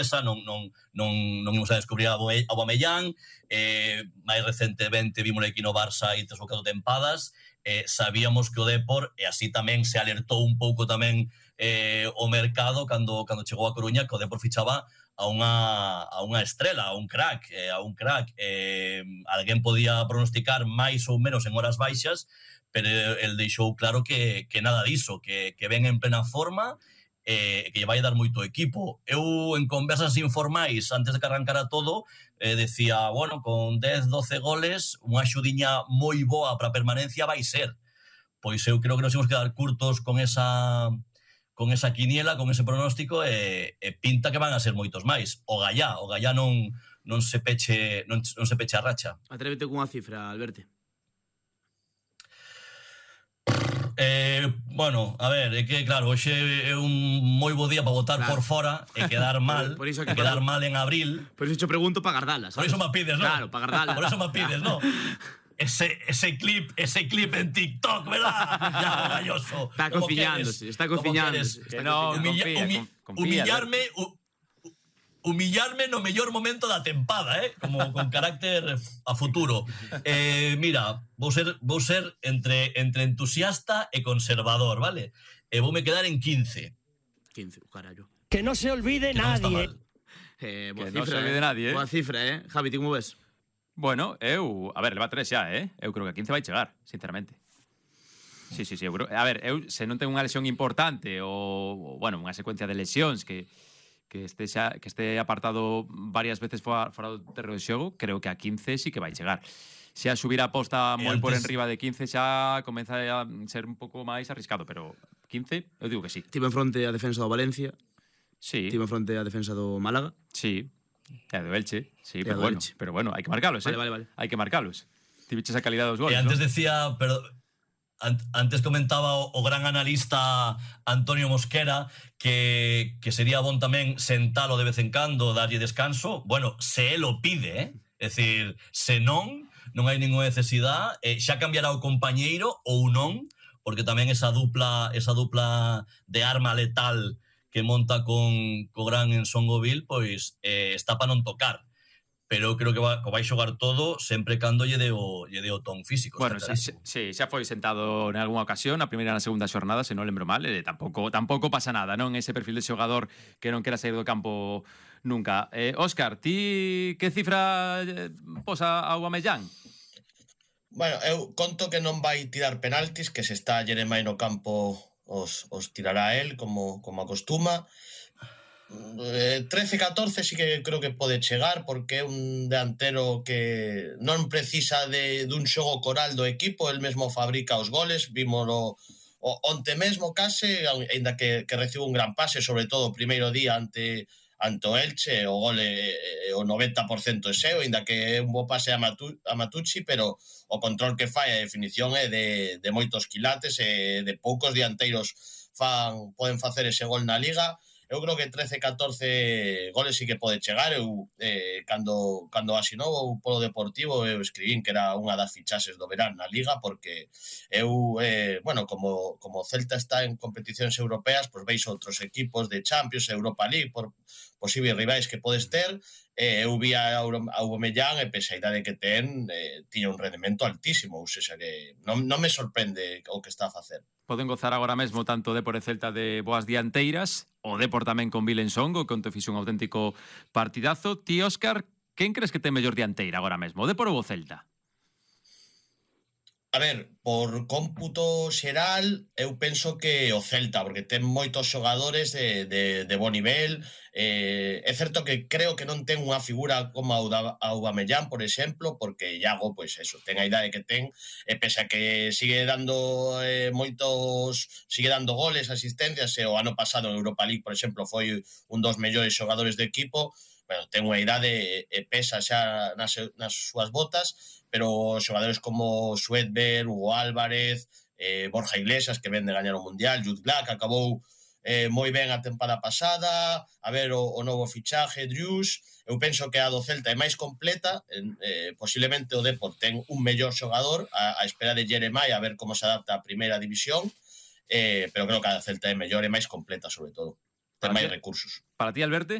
sorpresa, non imos a descubrir a Aubameyang, máis recentemente vimos aquí no Barça e 3 ou 4 tempadas, sabíamos que o Depor, e así tamén se alertou un pouco tamén o mercado cando chegou a Coruña, que o Depor fichaba a unha estrela, a un crack. Alguén podía pronosticar máis ou menos en horas baixas, pero el deixou claro que nada diso, que ven en plena forma, que lle vai dar moito equipo. Eu, en conversas informais, antes de que arrancara todo, decía, bueno, con 10-12 goles, unha xudiña moi boa para a permanencia vai ser. Pois eu creo que nos imos quedar curtos con esa quiniela, con ese pronóstico, e pinta que van a ser moitos máis. O Gallá non se peche a racha. Atrévete cunha cifra, Alberto. Bueno, a ver, é que claro, hoxe é un moi bo día para votar por fora e quedar mal, por iso que quedar mal en abril. Por iso te pregunto para gardalas, ¿sabes? Por iso me pides, ¿no? Claro, para gardalas. Por iso me pides, ¿no? Ese clip en TikTok, ¿verdad? Ya, galloso. Está cociñándose. Humillarme no mellor momento da tempada, como con carácter a futuro. Mira, vou ser entre entusiasta e conservador, vale? E voume quedar en 15. 15, carallo. Que no se olvide nadie. Boa Que cifra, non se olvide nadie, Boa cifra, Javi, ti como ves? Bueno, a ver, leva 3 xa, eu creo que a 15 vai chegar, sinceramente. Sí, eu creo, a ver, se non ten unha lesión importante ou bueno, unha secuencia de lesións que este apartado varias veces fora do terreno de xogo, creo que a 15 sí que vai chegar. Se a subir a posta moi por enriba de 15 xa comeza a ser un pouco máis arriscado, pero 15, eu digo que sí. Tivo en fronte a defensa do Valencia. Sí. Tivo en fronte a defensa do Málaga. Sí. E do Elche, sí, pero bueno, hai que marcalos, Vale. Hai que marcalos. Ti viches a calidad dos goles, E antes decía, pero antes comentaba o gran analista Antonio Mosquera que sería bon tamén sentalo de vez en cando, darlle descanso. Bueno, se él o pide, é dicir, se non hai ninguna necesidade, xa cambiará o compañeiro ou non, porque tamén esa dupla de arma letal que monta co gran Ensongovil, pois está para non tocar. Pero eu creo que vai xogar todo sempre cando lle dé o ton físico. Bueno, sí, xa foi sentado en algunha ocasión, a primeira e na segunda xornada, se non lembro mal, tampouco pasa nada, non? Ese perfil de xogador que non quera sair do campo nunca. Óscar, ti que cifra posa a Aubameyang? Bueno, eu conto que non vai tirar penaltis, que se está Jeremai no campo os tirará él, como acostuma. 13-14 sí que creo que pode chegar, porque é un delantero que non precisa dun xogo coral do equipo, el mesmo fabrica os goles, vímolo onte mesmo case, ainda que recibe un gran pase, sobre todo o primeiro día ante o Elche, o gole o 90% é seu, ainda que é un bo pase a Matucci, pero o control que fai, a definición é de moitos quilates, e de poucos dianteiros poden facer ese gol na Liga. Eu creo que 13-14 goles sí que pode chegar. Eu, cando asinou polo Deportivo, eu escribín que era unha das fichaxes do verán na Liga, porque eu, bueno, como o Celta está en competicións europeas, pois veis outros equipos de Champions, Europa League, por posibles rivais que podes ter. Eu vi a Aubameyang, e pese a idade que tiña un rendemento altísimo, ou seja que non me sorprende o que está a facer. Poden gozar agora mesmo tanto o Depor e Celta de boas dianteiras, o Depor tamén con Vilensongo, que onte fixo un auténtico partidazo. Ti, Óscar, quen crees que ten mellor dianteira agora mesmo, o Depor ou o Celta? A ver, por cómputo xeral, eu penso que o Celta, porque ten moitos xogadores de bo nivel. É certo que creo que non ten unha figura como a Aubameyang, por exemplo, porque Iago, pois eso, ten a idade que ten, e pese a que sigue dando goles, asistencias, e o ano pasado en Europa League, por exemplo, foi un dos mellores xogadores do equipo. Bueno, ten unha idade e pesa xa nas súas botas, pero xogadores como Sweatberg, Hugo Álvarez, Borja Iglesias, que ven de gañar o Mundial, Jude Black, acabou moi ben a tempada pasada, a ver o novo fichaje, Drews. Eu penso que a do Celta é máis completa, posiblemente o Depor ten un mellor xogador, a espera de Jeremai, a ver como se adapta a primeira división, pero creo que a do Celta é mellor e máis completa, sobre todo, ten máis recursos. Para ti, Alberto?